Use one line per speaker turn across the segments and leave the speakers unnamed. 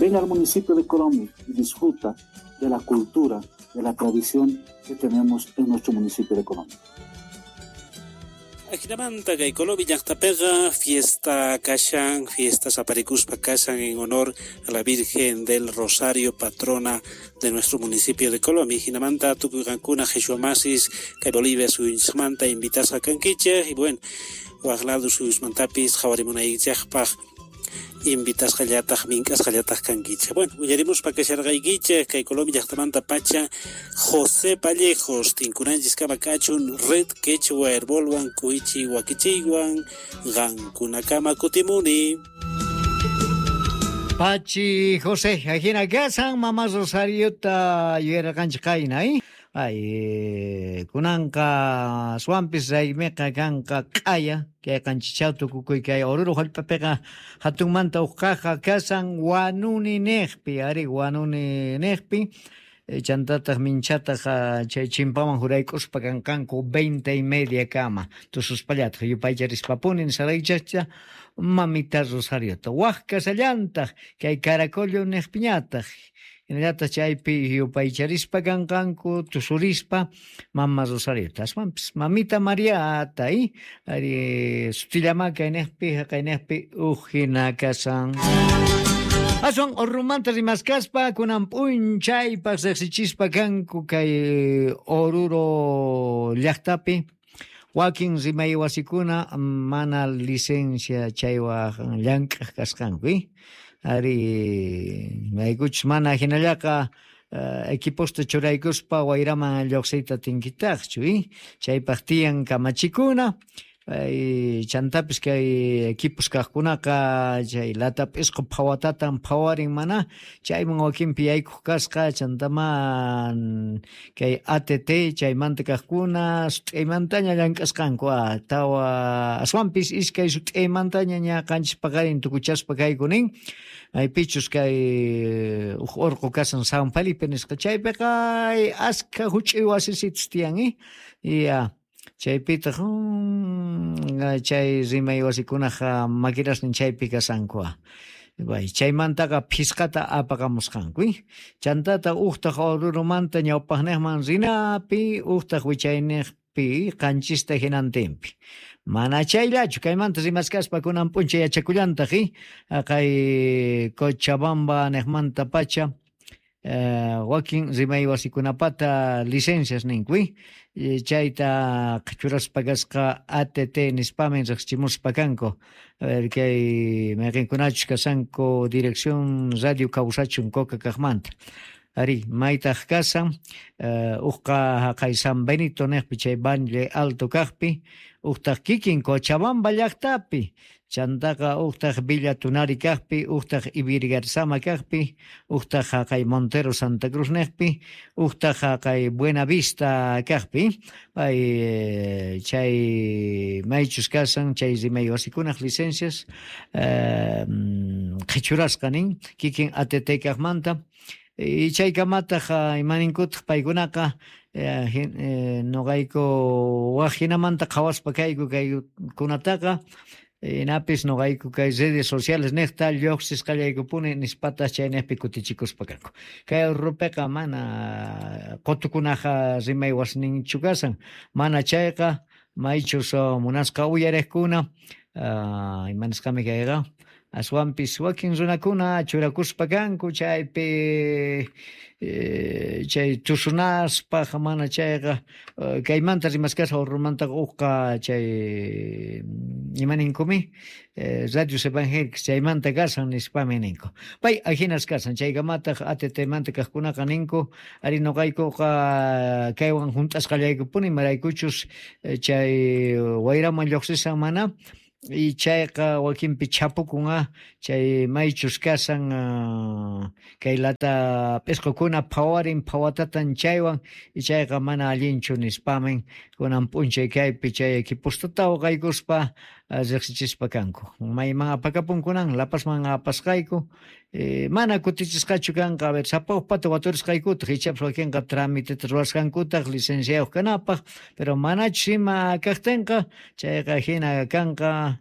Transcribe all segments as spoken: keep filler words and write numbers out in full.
Ven al municipio de Colomi y disfruta de la cultura, de la tradición que tenemos en nuestro municipio de Colomi.
Ajinamanta kay Colomi llaqtapiqa fiesta kashan, fiestas aparikuspa kashan en honor a la Virgen del Rosario, patrona de nuestro municipio de Colomi. Jinamanta tukuy qankuna qhichwa masis kay Bolivia suyunchikmanta invitasqa kankichik y bueno, waq lado suyusmantapis qhawarimunaykichikpaq invitasqallataq mink'asqallataq kankichik. Bueno, willarimuspa kasharqaykichik kay Colomi llaqtamanta pacha José Vallejos tinkunanchis kama kachun Red Quechua Herbolwan Kuichi Wakichiywan qankunakama kutimuni.
Pachi José, ajina kasan Mama Rosariota yuyarqanchik qayna, eh? Ay, kunanqa swampis raymiqa kanqa q'aya kay qanchichaw tukukuy kay Oruro hallp'apiqa hatunmanta uqaqa kasan Wanuni niqpi, ari Wanuni niqpi chantataq minchataq chay chimpaman jurayk'uspa kanqanku veinte y media kama tususpallataq yupaycharispapuni nisaraychacha Mamita Rosariota waq kasallantaq kay Caracollo niqpiñataq hinallataq chaypi yupaycharispa kanqanku tusurispa Mama Rosariota aswanpis Mamita Mariata y ari sutillama kayniqpi haqayniqpi uq hina kasan. Aswan Orurumanta rimaskaspa kunan p'unchaypaq riqsichispa kanku kay Oruro llaqtapi wakin rimay wasikuna mana licencia chaywan llank'aq kasqanku, eh? Ari maykuchus mana hinallaqa equiposta churaykuspa wayraman lluqsiyta tinkitaqchu, eh? Chaypaq tiyan kamachikuna. Ay, chantapis kay equipos kaqkunaqa chay lata p'isqu phawatatan phawarin mana chayman wakinpi yaykuq kasqa chantaman kay A T T chaymanta kaqkuna sut'aymantaña llank'asqanku a tawa aswanpis iskay sut'aymantaña ña qanchis paqarin tukuchaspa kayku nin maypichus kay uq urqu kasan San Felipe nisqa chaypiqa askha huch'uy wasisitus tiyan, eh? Ya chaypitaq chay rimay wasikunaqa maquinasnin chaypi kasanku. Bay, chaymantaqa phisqata apaqamusqanku, eh? Chantata uqtaq Orurumanta ñawpaqniqman rinapi, uqtaq wichayniqpi qanchista hinantinpi. Mana chayllachu kaymanta rimaskaspa kunan p'unchay yachakullantaq, eh? Kay Cochabamba niqmanta pacha eh, wakin rimay wasikunapata licencias ninku, eh? Chayta qhichuraspa kasqa A T T nispamin riqsichimuspa kanku. A ver kay mayqinkunachus kasanku Dirección Radio Kawsachun Coca kaqmanta. Ari maytaq kasan eh, uqqa haqay San Benito niqpi chay Valle Alto kaqpi, uqtaq kikin Cochabamba llaqtapi, chantaqa uqtaq Villa Tunari kaqpi, uqtaq Ivirgarzama kaqpi, uqtaq haqay Montero Santa Cruz niqpi, uqtaq haqay Buena Vista kaqpi. Pay chay maychus kasan chay rimay wasikunaq licencias eh, qhichurasqa nin kikin A T T kaqmanta. Y chaykamataq imaninkutaq paykunaqa eh, eh, noqayku waq hinamanta qhawaspa kayku kaykunataqa inapis noqayku kay redes sociales niqta lluqsisqallaykupuni nispataq chayniqpi kutichikuspa kanku. Kay Ururupiqa mana qutukunaqa rimay wasininchu kasan, mana chayqa maychus munasqa uyariqkuna uh, imanisqami kayqa aswanpis wakin runakuna churakuspa kanku chaypi eh, chay tusunaspaq mana chayqa kaymanta rimaskasqa Orurumantaqa uqqa chay imaninkumi eh, radios evangélicos chaymanta kasan nispami ninku. Pay ajinas kasan chaykamataq A T T manta kaqkunaqa ninku ari noqaykuqa kaywan hunt'asqallaykupuni maraykuchus chay wayraman lluqsisan mana y chayqa wakinpi chapukun chay maychus kasan kay lata p'isqukuna phawarin phawatatan chaywan y chayqa mana allinchu nispamin kunan p'unchay kaypi chay equipostata uqaykuspa riqsichispa kanku. Mayman apakapunkunan Lapasman apasqayku eh, mana kutichisqachu kanqa a ver sapa uqpata waturisqaykutaq ichapas wakinqa tramiteta ruwasqankutaq licenciayuq kanapaq pero manachus ima kaqtinqa chayqa hina kanqa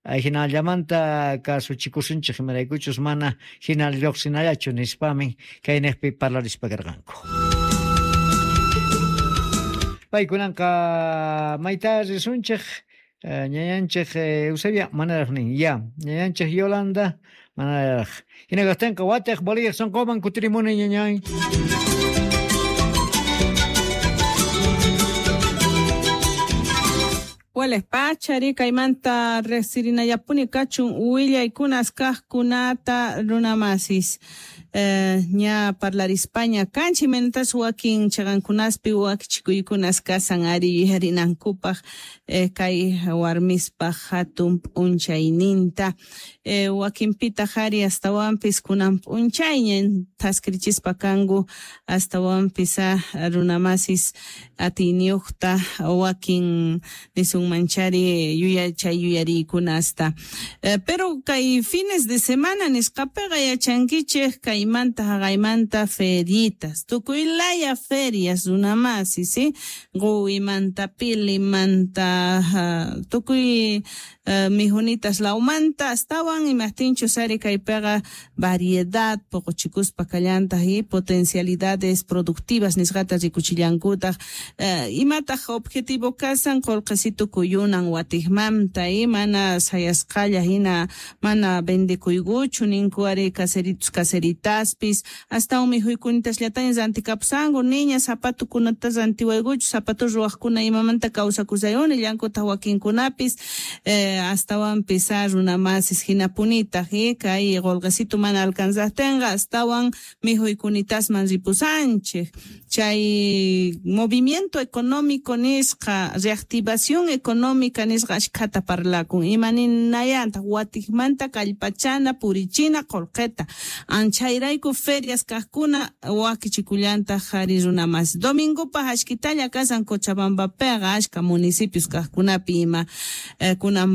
Hinallamanta kasuchikusunchik imaraykuchus mana hina lluqsinallachu nispami kayniqpi parlarispa karqanku. Paykunanqa mayta risunchik ñañanchik Eusebia manaraq nin ya ñañanchik Yolanda manaraq hina kaqtinqa watiq Bolivia sunquman kutirimuni ñañay.
Wales pachari kaymanta riqsirinallapuni kachun willaykunas kaqkunata runamasis. Eh, ña parlarispaña kanchi mentas wakin chaqankunaspi wakichikuykunas kasan ari yuyarinankupaq eh, kay warmispaq hatun p'unchayninta eh, wakinpitaq ari astawanpis kunan p'unchayña thaskirichispa kanku astawanpis runamasis atiyniyuqta wakin nisunmanchari yuyachay yuyariykunasta eh, pero kay fines de semana nisqapiqa yachankichik kay manta haqaymanta feritas tukuy laya ferias runamasi sí quwimanta pilimanta uh, tukuy uh, mijunitas lawmanta astawan imaqtinchus ari kaypiqa variedad poqochikuspa kallantaq y potencialidades productivas nisqata rikuchillankutaq uh, imataq objetivo kasan qullqisitu kuyunan watiqmanta y mana sayasqalla hina mana vendekuykuchu ninku ari caseritos caseritas taspis hasta mijuykunita llataña rantikapsanku niña zapatukunata rantiwaykuchu zapatu ruwaqkuna imamanta kawsakusayuni llankutaq wakinkunapis eh, astawanpis runamasis hinapunitaq eh, kay qullqisitu mana alcanzaqtinqa astawan mijuykunitasman ripusanchik chay movimiento económico nisqa reactivación económica nisqa ashkhata parlakun imaninayantaq watiqmanta kallpachana purichina qullqita anchayrayku ferias kaqkuna wakichikullantaq ari runamas domingopaq ashkitalla kasan Cochabambapiqa ashka municipios kaqkunapi ima eh, kunan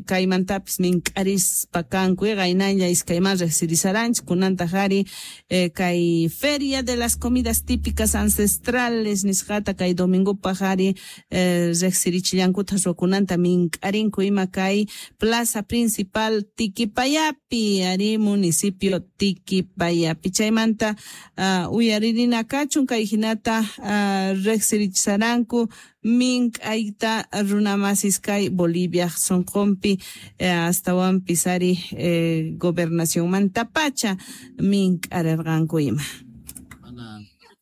kaymantapis mink'arispa kanku qaynalla iskayman riqsirisaranchik kunantaq ari eh, kay feria de las comidas típicas ancestrales nisqata kay domingopaq ari eh, riqsirichillankutaq ruwakunanta mink'arinku ima kay plaza principal Tiquipayapi ari municipio Tiquipayapi chaymanta uh, uyaririna kachun kay hinata uh, riqsirichisaranku mink'ayta runamasis kay Bolivia sunqunpi eh, astawanpis ari eh, gobernacionmantapacha mink'arirqanku ima.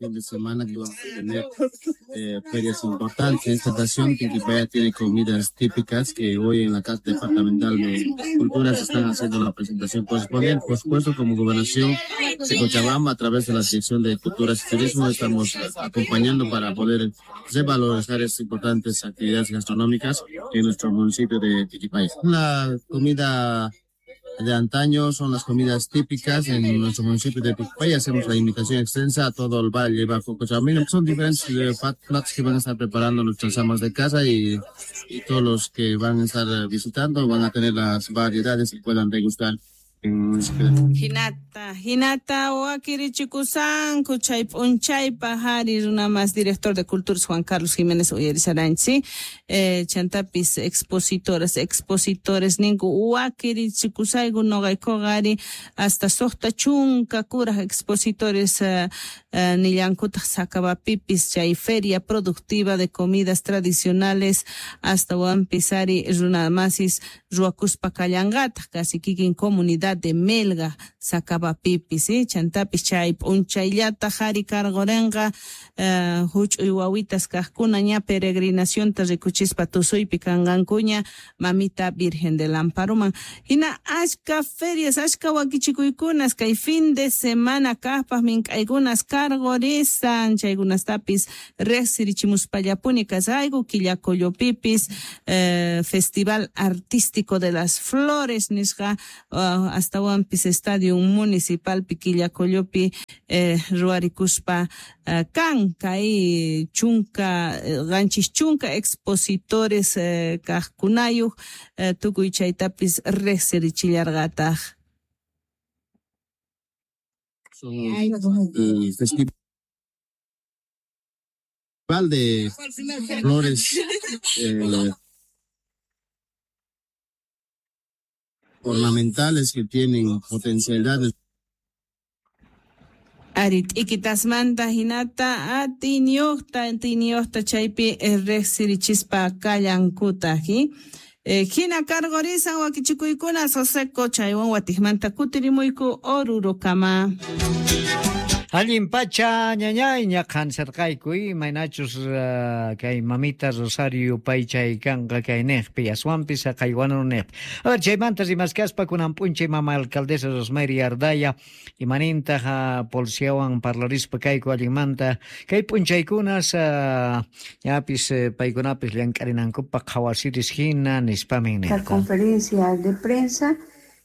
Fin de semana que vamos a tener eh, ferias importantes. En esta ocasión, Tiquipaya tiene comidas típicas que hoy en la Casa Departamental de Cultura se están haciendo la presentación correspondiente. Por supuesto, como Gobernación de Cochabamba, a través de la Dirección de Culturas y Turismo, estamos acompañando para poder revalorizar estas importantes actividades gastronómicas en nuestro municipio de Tiquipaya. La comida de antaño son las comidas típicas en nuestro municipio de Tiquipaya. Hacemos la invitación extensa a todo el valle bajo Cochabamba. Son diferentes eh, platos que van a estar preparando nuestras amas de casa y, y todos los que van a estar visitando van a tener las variedades que puedan degustar.
Hinata, hinata wakirichikusanku chay p'unchaypaq ari runamas director de Culturas Juan Carlos Jiménez uyarisaranchik eh, chantapis expositoras, expositores ninku wakirichikusayku noqaykuqa ari hasta suqta chunka kuraq expositores eh, eh, nillankutaq Sacabapipis chay feria productiva de comidas tradicionales astawanpis ari runamasis ruwakuspa kallanqataq casi kikin comunidad de Melga Sacabapipis eh? Chantapis chay p'unchayllataq ari karqurinqa eh, huch'uy wawitas kaqkuna ña peregrinacionta rikuchispa tusuypi kanqankuña mamita Virgen del Amparoman hina ashka ferias ashka wakichikuykunas kay fin de semana kaqpaq mink'aykunas karqurisan chaykunastapis riqsirichimuspallapuni kasayku Quillacollopipis eh, Festival Artístico de las Flores nisqa uh, astawanpis Estadio Municipal Quillacollopi eh, ruwarikuspa eh, kan kay chunka qanchis chunka expositores eh, kaqkunayuq eh, tukuy chaytapis riqsirichillarqataq.
El festival de flores eh, ornamentales que tienen potencialidades.
Ari t'ikitasmanta hinata atiyniyuqta atiyniyuqta chaypi riqsirichispa kallankutaq. Eh, hina karqurisan wakichikuykuna Soseko chaywan watiqmanta kutirimuyku Orurokama.
Allin pacha ñañay ñaqan sarqayku imaynachus uh, kay mamita Rosario paychay kanqa kay niqpi aswanpis haqaywanu niqpi. A ver, chaymanta rimaskaspa kunan p'unchay mama alcaldesa Rosemary Ardaya imanintaq uh, policiawan parlarispa kayku allinmanta kay p'unchaykunas uh, ñapis uh, paykunapis llank'arinankupaq qhawasiris hina nispamin
nirqa. La conferencia de prensa.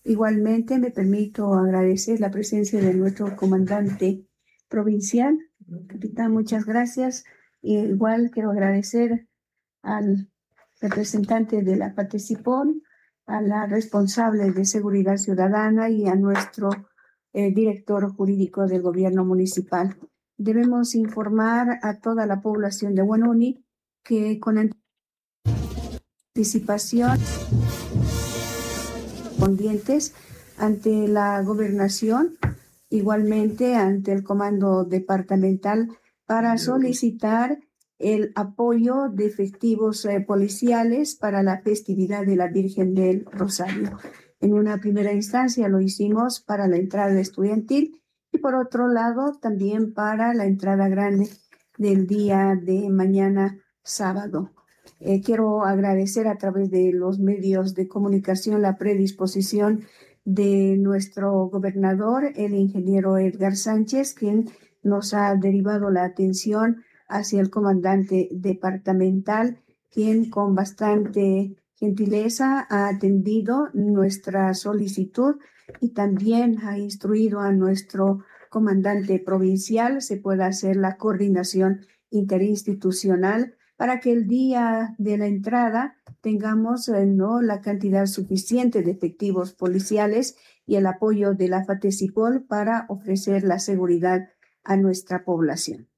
Igualmente me permito agradecer la presencia de nuestro comandante provincial. Capitán, muchas gracias. Igual quiero agradecer al representante de la Fatecipol, a la responsable de Seguridad Ciudadana y a nuestro eh, director jurídico del gobierno municipal. Debemos informar a toda la población de Huanuni que con anticipación correspondientes ante la gobernación, igualmente ante el comando departamental, para solicitar el apoyo de efectivos eh, policiales para la festividad de la Virgen del Rosario. En una primera instancia lo hicimos para la entrada estudiantil y por otro lado también para la entrada grande del día de mañana sábado. Eh, quiero agradecer a través de los medios de comunicación la predisposición de nuestro gobernador, el ingeniero Edgar Sánchez, quien nos ha derivado la atención hacia el comandante departamental, quien con bastante gentileza ha atendido nuestra solicitud y también ha instruido a nuestro comandante provincial se pueda hacer la coordinación interinstitucional para que el día de la entrada tengamos eh, no la cantidad suficiente de efectivos policiales y el apoyo de la Fatecipol para ofrecer la seguridad a nuestra población.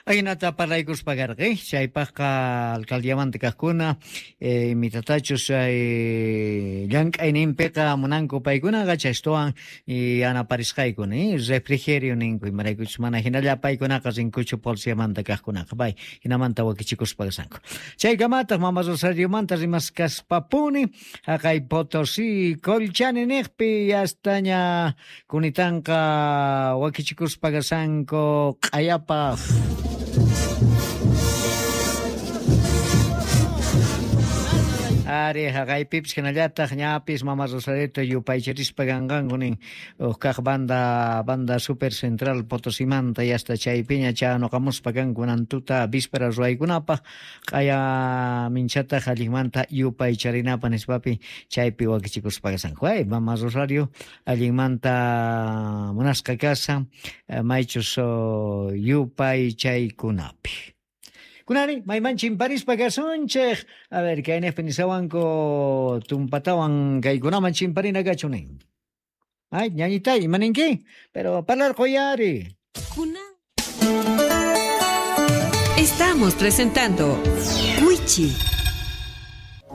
Ahinata parlaykuspa karqi, chaypaqqa alcaldiamanta kaqkuna, eh, mitatachus eh, llank'ayninpiqa munanku paykunaqa chaystuwan yanaparisqayku ni refrigerio ninku imaraykuchus mana hinalla paykunaqa rinkuchu policiamanta kaqkunaqa pay hinamanta wakichikuspa kasanku. Chaykamataq mama Rosariomanta rimaskaspapuni haqay Potosí Colchani niqpi yastaña kunitanqa wakichikuspa kasanku q'ayapaq. Ari haqaypipis hinallataq ñapis mama Rosarioto yupaycharispa kanqanku nin uqkaq banda banda super central Potosimanta yasta chaypiña chanuqamuspa kanku nantuta víspera ruwaykunapaq q'aya minchataq allinmanta yupaycharinapaq nispapi chaypi wakichikuspa kasanku. Ay mama Rosario allinmanta munasqa kasan maychus yupaychaykunapi. Kunani, mayman chimparispa kasunchik. A ver, kaynejpi nisawanku tumpatawan kaykunaman chimparina kachunin. Ay, ñañitay, imaninki? Pero parlarquyari.
Estamos presentando Wichi.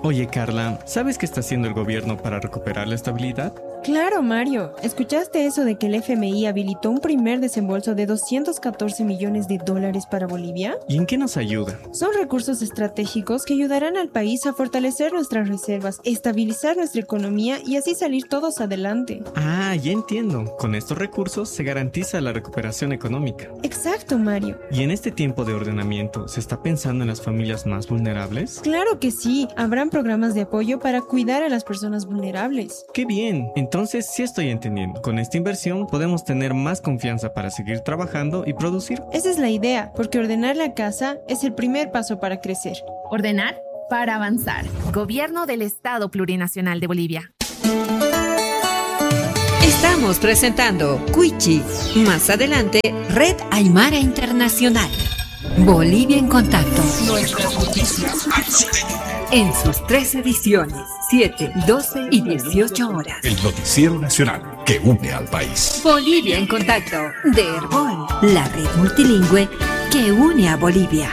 Oye, Carla, ¿sabes qué está haciendo el gobierno para recuperar la estabilidad?
Claro, Mario. ¿Escuchaste eso de que el F M I habilitó un primer desembolso de doscientos catorce millones de dólares para Bolivia?
¿Y en qué nos ayuda?
Son recursos estratégicos que ayudarán al país a fortalecer nuestras reservas, estabilizar nuestra economía y así salir todos adelante.
Ah, ya entiendo. Con estos recursos se garantiza la recuperación económica.
Exacto, Mario.
¿Y en este tiempo de ordenamiento se está pensando en las familias más vulnerables?
Claro que sí. Habrán programas de apoyo para cuidar a las personas vulnerables.
¡Qué bien! Entonces Entonces sí estoy entendiendo. Con esta inversión podemos tener más confianza para seguir trabajando y producir.
Esa es la idea, porque ordenar la casa es el primer paso para crecer.
Ordenar para avanzar. Gobierno del Estado Plurinacional de Bolivia.
Estamos presentando Cuichi. Más adelante, Red Aymara Internacional. Bolivia en contacto.
Nuestras noticias.
En sus tres ediciones, siete, doce y dieciocho horas.
El noticiero nacional que une al país.
Bolivia en contacto de Herbol, la red multilingüe que une a Bolivia.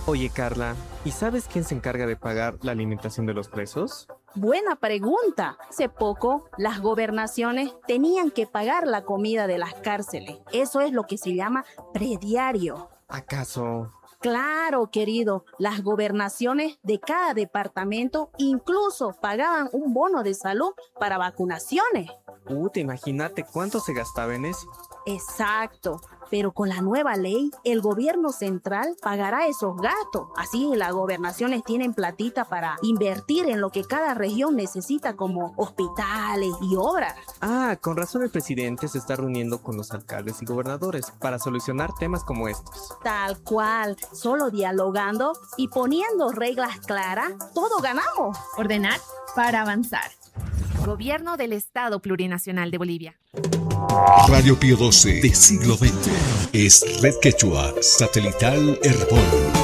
Oye, Carla, ¿y sabes quién se encarga de pagar la alimentación de los presos?
Buena pregunta. Hace poco, las gobernaciones tenían que pagar la comida de las cárceles. Eso es lo que se llama prediario.
¿Acaso?
Claro, querido, las gobernaciones de cada departamento incluso pagaban un bono de salud para vacunaciones.
Uh, te imagínate cuánto se gastaba en eso.
Exacto, pero con la nueva ley, el gobierno central pagará esos gastos. Así las gobernaciones tienen platita para invertir en lo que cada región necesita, como hospitales y obras.
Ah, con razón el presidente se está reuniendo con los alcaldes y gobernadores para solucionar temas como estos.
Tal cual, solo dialogando y poniendo reglas claras, todo ganamos.
Ordenar para avanzar. Gobierno del Estado Plurinacional de Bolivia.
Radio Pío doce de siglo veinte es Red Quechua Satelital Herbol.